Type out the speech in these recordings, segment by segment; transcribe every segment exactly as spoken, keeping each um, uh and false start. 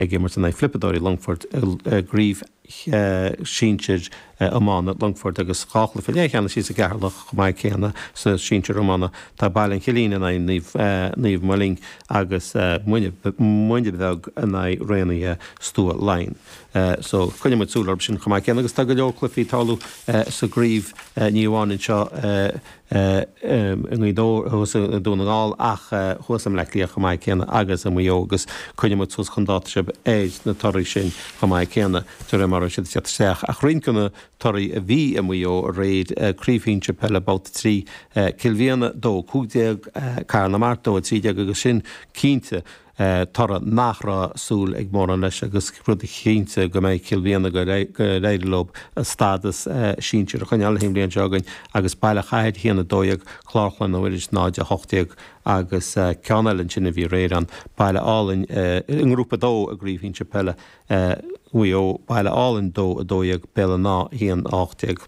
Ag imirt in aghaidh Flipeadóirí Longfoirt i gcraobh sinsir iomána Longfoirt agus dhá chluiche leathcheannais thíos i gCeatharlach chomh maith céanna sa sinsir iomána. Tá Baile an Chillín in aghaidh Naomh Moling agus Muine Bheag in aghaidh Raonaithe Stua Laighean. So coinneoidh muid súil orthu sin chomh maith céanna agus tá go leor cluichí ag tarlú sa gcraobh ní amháin anseo i nGaoth Dobhair, thuas i nDún na nGall ach thuas i mBleá Cliath chomh maith céanna agus i Maigh Eo agus coinneoidh muid suas chun dáta sibh ar na torthaí sin chomh maith céanna de réir mar a bheidh siad ag teacht isteach. Ach roinnt de na torthaí a bhí i Maigh Eo aréir, Craobh Shinsir Peile Babhta trí, Cill Mhiana dó, cúig déag, Cathair na Mart dó, a trí déag agus sin cinnte toradh nach raibh súil ag mórán leis agus rud cinnte go mbeidh Cill Mhiana go n-éireoidh leo a stádas sinsir a choinneáil an bhliain seo chugainn agus Baile Chathair a haon a dó dhéag, Clár Chloinne Mhuiris náid a hocht déag agus ceann eile ansin a bhí aréir ann, Baile Álainn i nGrúpa a dó i gCraobh Shinsir Peile Mhaigh Eo, Baile Álainn dó a dó dhéag, Béal an Átha a haon a hocht déag.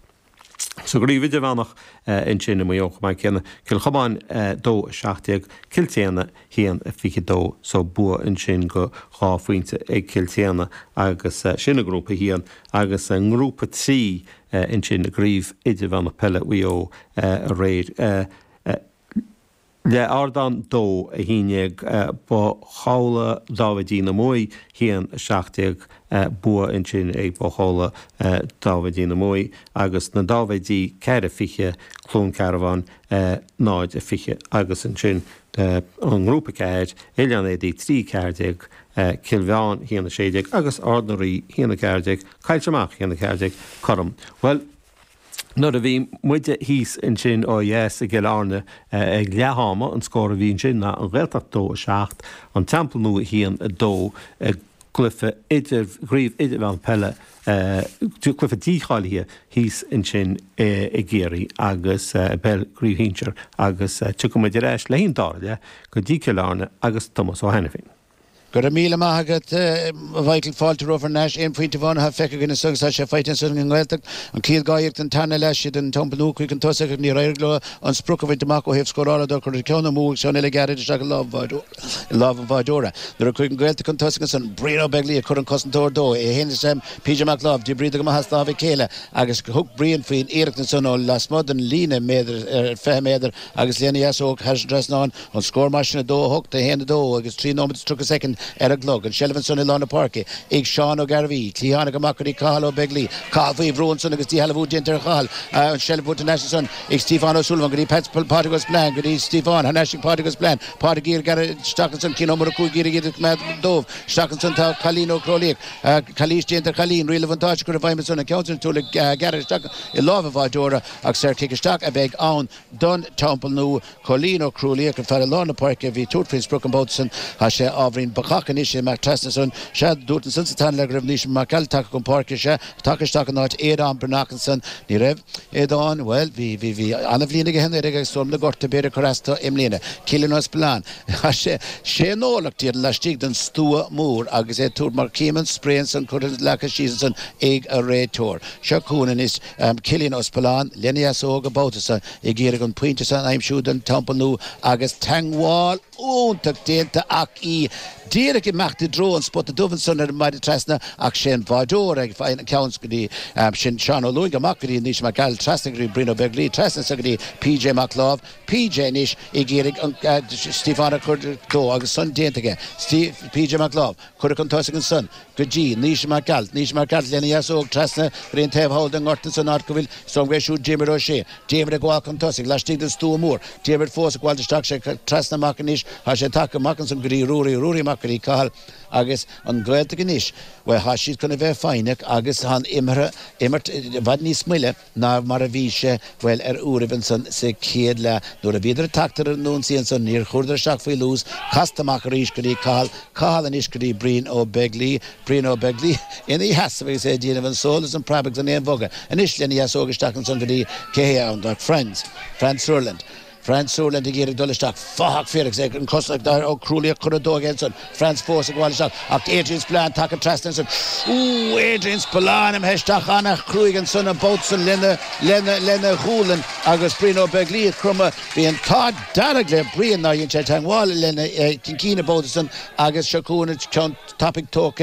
Sa gcraobh idirmheánach ansin i Maigh Eo chomh maith céanna, Cill Chomáin dó a seacht déag, Cill tSéadhna haon a fiche dó. So bua ansin go dhá phointe ag Cill tSéadhna agus sin i nGrúpa a haon agus i nGrúpa trí ansin i gcraobh idirmheánach peile Mhaigh Eo aréir. Leath Ardán dó, a haon déag, Both Chabhla Dáibhidí na Muaidh a haon, a seacht déag, bua ansin ag Both Chabhla Dáibhidí na Muaidh agus na Dáibhidí ceathair a fiche, Cluain Cearbán náid a fiche agus ansin i nGrúpa ceathair, Oileán Éadaí trí ceathair déag, Cill Mheáin a haon a sé déag agus Ard na Rí a haon a ceathair déag, Coillte Amach a haon a ceathair déag, cothrom. Bhuel. Nuair a bhí muide thíos ansin ó dheas i gCill Airne ag leath ama, an scór a bhí ansin ná An Ghaeltacht dó a seacht, An Teampall Nua a haon a dó i gcluiche idir gcraobh idirmheánach peile, cluiche dícháilithe thíos ansin i gCiarraí agus i bpeil gcraobh shinsir agus tiocfaidh muid ar ais le haghaidh an dara leath go dtí Cill Airne agus Tomás Ó hAiniféin. Go raibh míle maith agat, a Mhichael. Fáilte romhat thar n-ais. Aon phointe amháin atá feicthe againn anso agus tá sé faighte ansan ag an nGaeltacht. An chéad dhá iarracht den tarna leath siad an Teampall Nua chuig an tosach ach níor éirigh leo an sprioc a bhaint amach ó thaobh scórála de. Cuireadh ceann amú agus ceann eile gearrtha isteach i lámh an bháideora. Nuair a chuaigh an Ghaeltacht chun tosaigh ansan, Brian Ó Beaglaoich a chuir an cosantóir dó, é féin is PJ Mac Láimh, d'oibríodar go maith as lámh a chéile agus thug Brian faoin iarracht ansan ó lasmuigh den líne méadar, fiche méadar agus lena dheasóg thar an trasnán. An scór mar sin a dó a hocht, a haon a dó agus trí nóiméad is tríocha soicind ar an gclog. An tseilbh ansan i lár na páirce ag Seán Ó Gairbhí. Cliathánach amach go dtí Cathal Ó Beaglaoi. Cathal faoi bhrú ansan agus díshealbhú déanta ar Chathal. An tseilbh buaite thar n-ais ansan ag Stiofán Ó Súilleabháin go dtí Pat Pádraig Ó Spillane go dtí Stiofán thar n-ais ag Pádraig Ó Spillane. Pádraig ag iarraidh gearradh isteach ansan Cian Ó Murchú ag iarraidh iad a choimeád dóibh. Isteach ansan tá Cailín Ó Crólaíoch. Calaois déanta ar Chailín. Riail an bhuntáiste curtha i bhfeidhm ansan. An ceann sin ag gearradh isteach i lámh an bháideora ach saorchic isteach a bheidh ann don Teampall Nua. Cóilín Ó Crualaoich, an fear i lár na páirce a bhí ag tabhairt faoin sprioc an babhta san, tá sé ábhairín bacach anois ag imeacht trasna ansan. Sea, dúirt ansan sa tarna leath go raibh Naoise Mac Gearailt tagtha chun páirce. Sea, tagtha isteach in áit Aodán Breathnach ansan. Ní raibh Aodán, bhuel, bhí, bhí, bhí an-bhliain aige anuraidh agus tuairim na gorta b'fhéidir ag cur as dó i mbliana. Cillian Ó Spealáin, tá sé, sé nólacht iad laistigh den stua mór agus é ag tabhairt mar cím an spré ansan curtha leagtha síos ansan ag an réiteoir. Seo chugainn anois Cillian Ó Spealáin lena dheasóg an babhta san. ag iarraidh an pointe san a aimsiú don Teampall Nua agus teangmháil iontach déanta ach í díreach imeacht i dtreo an spota dubh ansan ar an maide trasna ach sé an bháideoir ag faigheann an ceann go dtí sin Seán Ó Lúing amach go dtí Naoise Mac Gearailt trasna go dtí Brian Ó Beaglaoi trasna anso go dtí PJ Mac Láimh PJ anois ag iarraidh an Stiofán a chur dó agus san déanta aige PJ Mac Láimh curtha chun tosaigh ansan go dtí Naoise Mac Gearailt Naoise Mac Gearailt lena dheasóg trasna go dtí an taobh thall den ngort ansan áit go bhfuil is dóigh liom gurb é siúd Diarmuid Ó Sé Diarmuid ag gabháil chun tosaigh, laistigh den stua mór. Diarmuid fós ag gabháil isteach, sé trasna amach anois. Tá sé tagtha amach ansan go dtí Ruairí, Ruairí amach go dtí Cathal. Agus an Ghaeltacht anois, bhuel, tá siad chun a bheith foighneach agus tá an imeartha, imirt i bhfad níos moille ná mar a bhí sé, bhuel, ar uairibh ansan sa chéad leath. Nuair a bhíodar ag teacht ar an ionsaí ansan, níor chuireadar isteach faoi luas. Casta amach arís go dtí Cathal, Cathal anois go dtí Brian Ó Beaglaoi. Brian Ó Beaglaoi ina sheasamh agus é ag déanamh an sól is an preab agus an aon bhogadh anois lena dheasóg isteach ansan go dtí cé hé ann ach Franz, Franz Sutherland. Franz Suerland ag iarraidh dul isteach fathach fir agus é an cos ag Ó Crualaoich chun a dó ansan Franz fós ag gabháil isteach ach Adrian Spillane tagtha trasna ansan Ú Adrian Spillane imithe isteach an-chruaidh ansan an babhta san lena lena lena ghualainn agus Brian Ó Beaglaoich cromadh bhí an t-ádh dearg le Brian nár dhein sé teagmháil lena chincín an babhta san agus seo chugainn ceann tapaidh tógtha